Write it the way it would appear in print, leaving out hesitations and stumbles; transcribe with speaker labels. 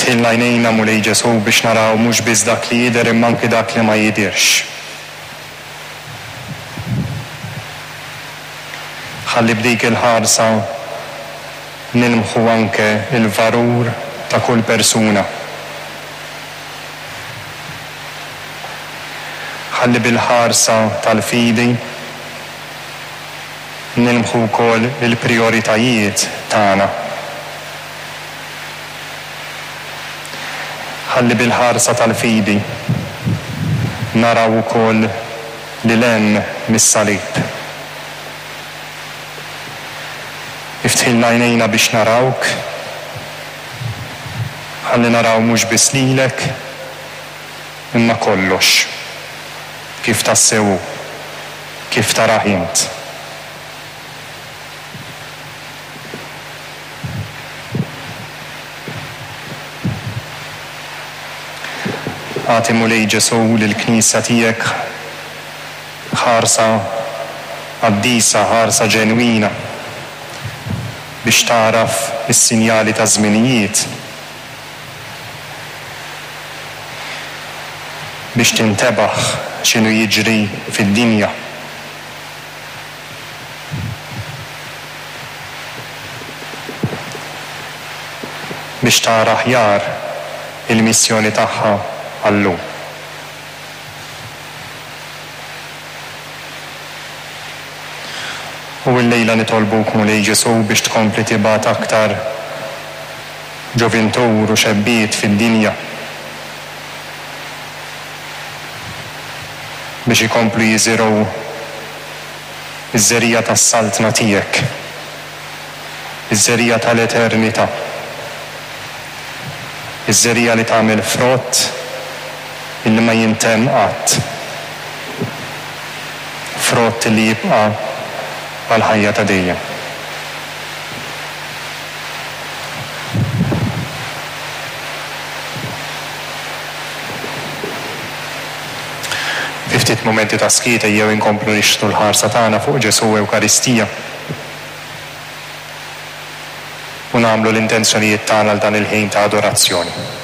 Speaker 1: Iftħilna għajnejna, Mulej Ġesù, biex naraw mhux biss dak li jidher imma anki dak li ma jidhirx. Ħalli b'dik il-ħarsa nilmħu anke l-valur ta' kull persuna. Ħalli bil-ħarsa tal-fidi nilmħu wkoll il-prijoritajiet tagħna. Ħalli bil-ħarsa tal-fidi naraw ukoll lil hemm mis-salib. Iftħilna għajnejna biex narawk. Ħalli naraw mhux biss lilek, imma kollox, kif tassew hu, kif tarah int. Agħti Mulej Ġesù lill-Knisja tiegħek ħarsa qaddisa, ħarsa ġenwina biex tagħraf is-sinjali taż-żminijiet, biex tintebaħ x'inhu jiġri fid-dinja. Biex tara aħjar il-missjoni tagħha għal-lum. U llejla nitolbuk Mulej Ġesù biex tkompli tibgħat aktar ġovintur u xebbiet fid-dinja biex ikomplu jiżirgħu iż-żerriegħa tas-Saltna tiegħek, iż-żerriegħa tal-eternità, iż-żerriegħa li tagħmel frott illi ma jintemm qatt, frott illi jibqa' għall-ħajja ta' dejjem. Fi ftit mumenti ta' skiet ejjew inkomplu nixħtu l-ħarsa tagħna fuq Ġesù Ewkaristija u nagħmlu l-intenzjonijiet tagħna għal dan il-ħin ta' adorazzjoni.